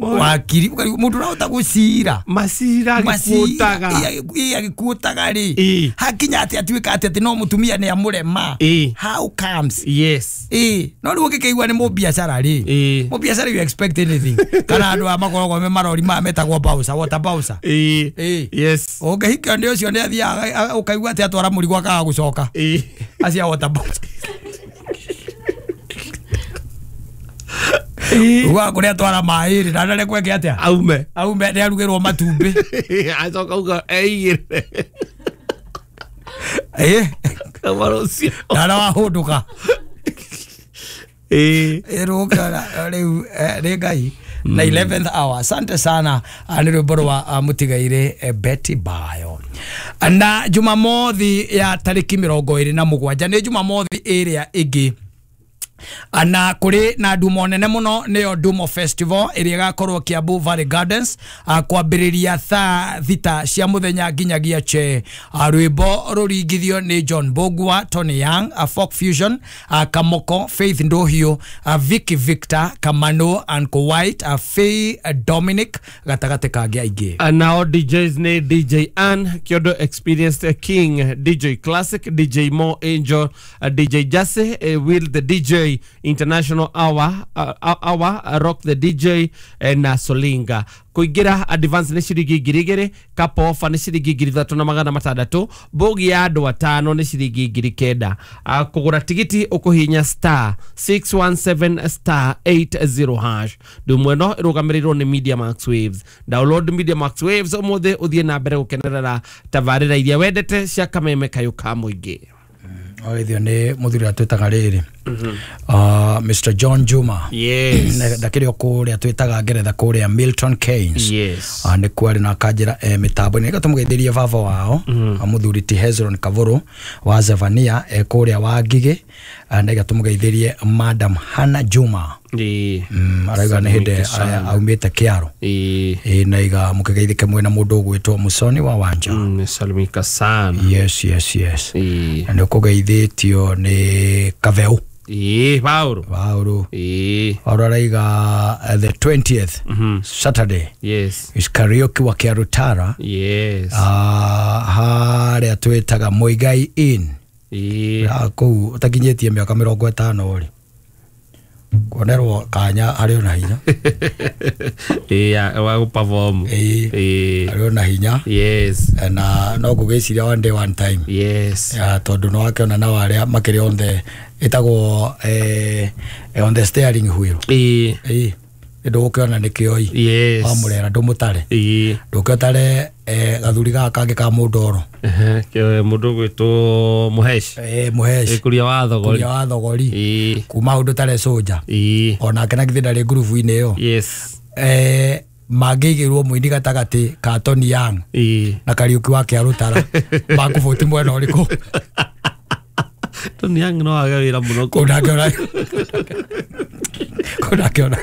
Wakiri mundu urahota gucira macira agikuotaga agikuotaga ri hakinya ati atuika ati no mutumia ni amurema. How comes? Yes. No riu ngikeigua ni mubiacara ri mubiacara you expect anything kana andu a makoragwo me marori ma metagwo bouncer water bouncer. Yes. Ungihikio ni ucio ni athiaga ukaigua ati atwara murigo akaga gucoka acia water bouncer. Uga kuria twara mairi na ndare kweke atia aume aume ni arugirwo matumbi acoka uga eigire kamarocio na wahunduka rukara riu ni Ngai na 11th hour. Asante sana ni rwimbo rwa mutigaire Betty Bayo. Na Jumamothi ya tariki 27 ni Jumamothi ĩrĩa ĩngĩ na kuri na ndumo nene muno niyo Ndumo Festival iria igakorwo Kiambu Valley Gardens kwambiriria thaa 6 cia muthenya nginyagia che. Rwimbo ruringithio ni John Bogwa, Tony Young, Folk Fusion, Kamoko, Faith Nduhiu, Vicky Victor, Kamano, Uncle White, Faye Dominic gatagate kangi aingi. Nao DJs ni DJ Ann, Kyodo Experienced King, DJ Classic, DJ Mo Angel, DJ Jase, Will the DJ International Hour, Rock the DJ na Solinga. Kuingira advance ni ciringi 2,000, couple offer ni ciringi 3,600, bogi ya andu atano ni ciringi 9,000. Kugura tigiti ukuhinya star 617 star 80 hash. Ndumo ĩno ĩrũgamĩrĩirwo nĩ Media Max Waves. Download Media Max Waves ũmũthĩ ũthiĩ na mbere gũkenerera tabarĩra iria wendete cia kameme kayũ ka mũingĩ. Oithio ni muthuri atwitaga riri Mr John Juma. Yes. Ndakiri o kuria twitaga ngeretha kuria Milton Keynes. Yes. Ni kwari na kanjira mitambo ni gatumugeithirie baba wao muthuri ti Hezron Kavuru wa Zevania kuria wa Ngigĩ na gatumugeithirie Madam Hannah Juma. Arauga ni hindi aumite kiaro. Na iga mukigeithike mwena mundu ugwitwo Musoni wa Wanja. Salimika sana. Yes yes yes. Na nikugeithitio ni Kaveu. Pauro. Pauro. Pauro araiga the 20th Saturday. Yes. Is karaoke wa Kiarutara. Yes. Haria twitaga Muigai Inn. Kuu utakinyitie miaka 50 ri. Kuonerwo kanya ari ona hinya. Wa gũ perform. Ari ona hinya. Yes. Na no ngũgĩciria one day one time. Yes. Tondu no akĩona nao arĩa makĩrĩ on the ĩtagwo on the steering wheel. Ndũgũkĩona nĩkĩo. Yes. Wamũrera ndũmũtare. Ndũkĩotare gathuri gaka kangĩ ka mũndoro. Mũndũ ũgwĩtwo Mũhesh. Mũhesh. Kuria wa thogori. Kuria wa thogori. Kuma ũndũ tare soja. Onake na githĩ ndarĩ ngurubu-inĩ ĩyo. Yes. Mangĩigĩrwo mũini gatagatĩ ka Tony Young na Kariũki wa Kĩarũtara makũbũti mwena ũrĩkũ? Tony Young no age wĩra mũno. Kũu nake ona kũu nake ona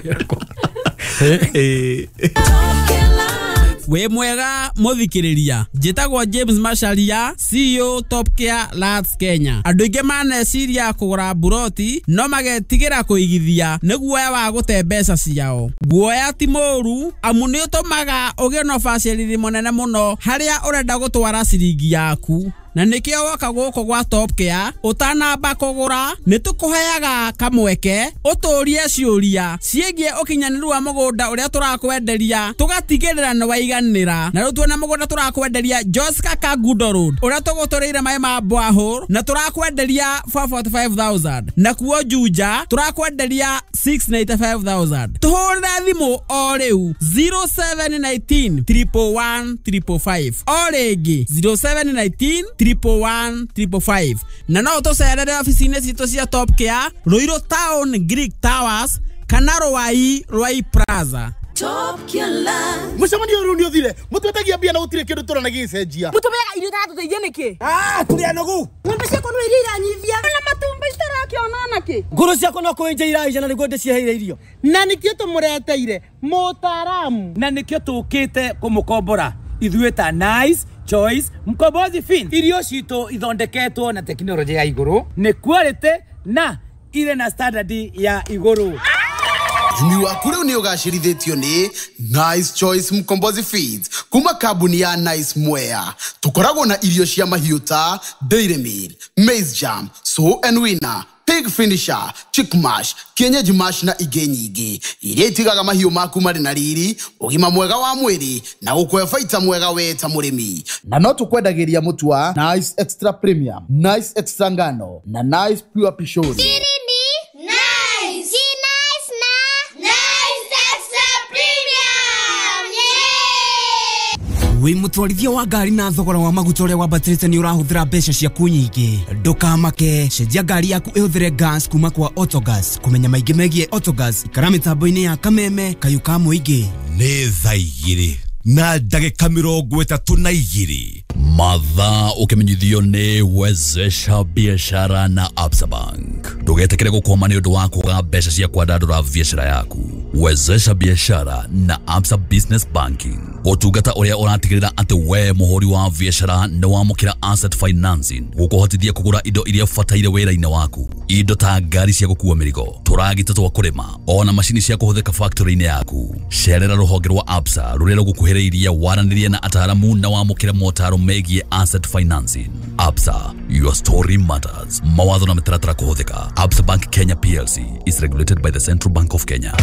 Wĩ mwega mũthikĩrĩria, njĩtagwo James Macharia, CEO Top Care Lands Kenya. Andũ aingĩ maneciria kũgũra mburoti no magetigĩra kũigithia nĩ guoya wa gũte mbeca ciao. Guoya ti mũũru amu nĩ ũtũmaga ũgĩe na ũbacĩrĩri mũnene mũno harĩa ũrenda gũtwara ciringi yaku. Na nikio woka gũkũ gwa Top Care ũtanamba kũgũra nĩ tũkũheaga kamweke ũtũrie ciũria ciĩgiĩ ũkinyanĩru wa mũgũnda ũrĩa tũrakwenderia tũgatigĩrĩra nĩ waiganĩra. Na rĩu tuona mũgũnda tũrakwenderia Joska Kangundo Road ũrĩa tũgũtũrĩire maĩ ma borehole na tũrakwenderia 445,000 na kuo Juja tũrakwenderia 695,000. Tũhũrĩre thimũ o rĩu 0719 111 555 o rĩngĩ 0719 111 555 na no tũcerere ofici-inĩ citũ cia Top Care Ruiru Town Greek Towers kana Ruai Ruai Plaza. Top Care Land. Mucemanio riu ni uthire mutwetagia mbia na gutire kindu turona gicenjia mutumeaga irio itaratũteithia nĩkĩ? Tũrĩ anogu. Ng'ombe ciakwa no iria iranyithia na matumbĩ citarakĩona nakĩ. Ngũrũ ciakwa no kũenja iraija na nĩguo ndĩciheire irio. Na nĩkĩo tũmũreteire mũtaaramu. Na nĩkĩo tũkĩte kũmũkombora ithuĩ ta Nice Choice Mkombozi Fin. Irio citũ ithondeketwo na tekinoronjĩ ya igũrũ, nĩ quality na ire na standard ya igũrũ. Ũrĩmi waku rĩu nĩ ũgacĩrithĩtio nĩ Nice Choice Mkombozi Feeds kuma kambuni ya Nice Mwea. Tũkoragwo na irio cia mahiũ ta Dairy Meal, Maize Jam, Sow and Winner, Pig Finisher, Chick Mash, Kienyeji Mash na ingĩ nyingĩ iria itigaga mahiũ maku marĩ na riri, ũgima mwega wa mwĩrĩ na gũkũhe baita mwega we ta mũrĩmi. Na no tũkwendagĩria mũtu wa Nice Extra Premium, Nice Extra Ngano na Nice Pure Pishori. Nice. Nice na Nice Extra Premium. Yeah. Wĩ mũtwarithia wa ngari na thogora wa maguta ũrĩa wambatĩrĩte nĩ ũrahũthĩra mbeca ciaku nyingĩ. Ndũkamake, cenjia ngari yaku ĩhũthĩre gas kuma kwa Autogas. Kũmenya maingĩ megiĩ Autogas, ikara mĩtambo-inĩ ya Kameme kayũ ka mũingĩ. Nĩ thaa 2 na ndagĩka 32. Mathaa ũkĩmenyithio nĩ Wezesha Biashara na Absa Bank. Ndũgetĩkĩre gũkwama nĩ ũndũ wa kwaga mbeca cia kwandandũra biashara yaku. Wezesha Biashara na Absa Business Banking, ũtungata ũrĩa ũratigĩrĩra atĩ we mũhũri wa biashara nĩ wamũkĩra asset financing gũkũhotithia kũgũra indo iria ũbataire wĩra-inĩ waku, indo ta ngari cia gũkua mĩrigo, tũragita twa kũrĩma, ona macini cia kũhũthĩka factory-inĩ yaku. Cerera rũhonge rwa Absa rũrĩa rũgũkuhĩrĩirie, waranĩrie na ataaramu na wamũkĩre motaro megiĩ asset financing. Absa, your story matters. Mawatho na mĩtaratara kũhũthĩka. Absa Bank Kenya PLC is regulated by the Central Bank of Kenya.